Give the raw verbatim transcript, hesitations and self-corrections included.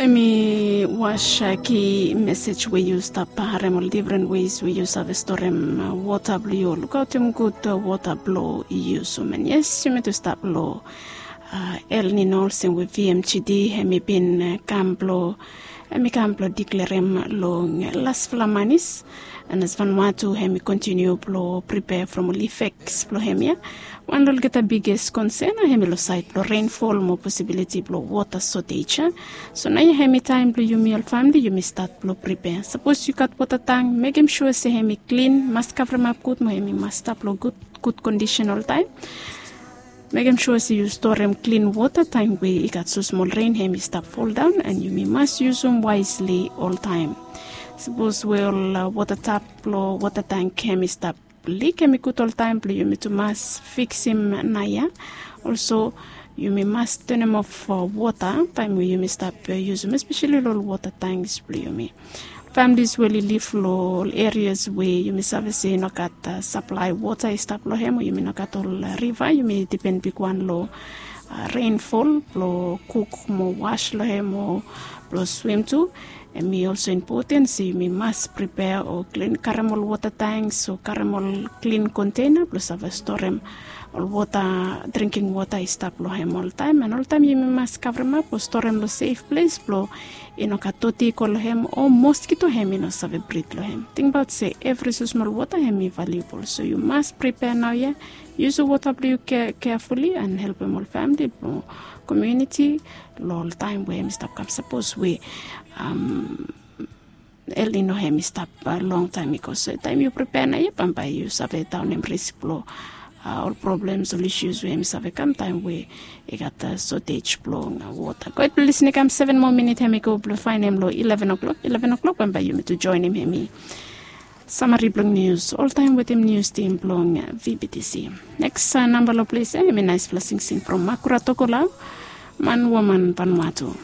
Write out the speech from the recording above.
Em i was ki mesej we yu stap harem ol difren wes we yu save storem wota blong yu, lukaotem gud wota blong yu. So man, yes, yumi tu stap long El Nino olsem we V M G D em i bin kam blong em i kam blong diklerem long lasfala manis. An as Vanuatu em i kontiniu blong pripea from ol ifeks blong em ya. Wan long olgeta biges konsen em i long saed blong renfol mo posibiliti blong wota sotej ya. So naoia em i taem blong yumi ol famili yumi stat blong pripea. Sapos yu gat wota tang, mekem sua se em i klin, mas kavremap gud mo em i mas stap long gud kondisen oltaem. Mekem sua se yu storem klin wota taem we i gat so smol ren em i stap foldaon, an yumi mas yusum waesli oltaem. Sapos we ol wota tap blong wota tang em i stap lik, em i gud oltaem blong yumi tu mas fiksim naoia. Olso yumi mas tonem of wota taem we yumi stap yusum, espeseli long ol wota tanks blong yumi. Familis we oli liv long ol erias we yumi save se i no gat saplae wota i stap long em, o yumi no gat ol riva, yumi dipen bigwan long renfol blong kuk mo was long em o blong swim tu. Em i olso impoten se yumi mas pripea o klin karem ol wota tanks o karem ol klin konteina blong save storem ol wota, dringking wota i stap long em oltaem. An oltaem yumi mas kavremap o storem long sef ples blong i no gat doti i go long em o moskito em i no save brid long em. Tingbaot se evri so smol wota em i valiubol, so yu mas pripea naoia. Yusum wota blong yu kea, keafuli an helpem ol famili blong komuniti long ol taem we em i stap kam. Sapos we El Nino em i stap longtaem i go, so taem yu pripea naoia bambae yu save daonem risk blong ol problems, ol isus we em i save kam taem we i gat sotej blong wota. Go hed blong lisning, kam seven moa minit em i go blong faenem long eleven o'clock. Eleven o'clock bambae yumi tu joenem em i samari blong nius oltaem wetem nius tim blong V B T C. Neks namba long ples ya em i naesfala singsing from Makura Tokolau, Man Woman Vanuatu.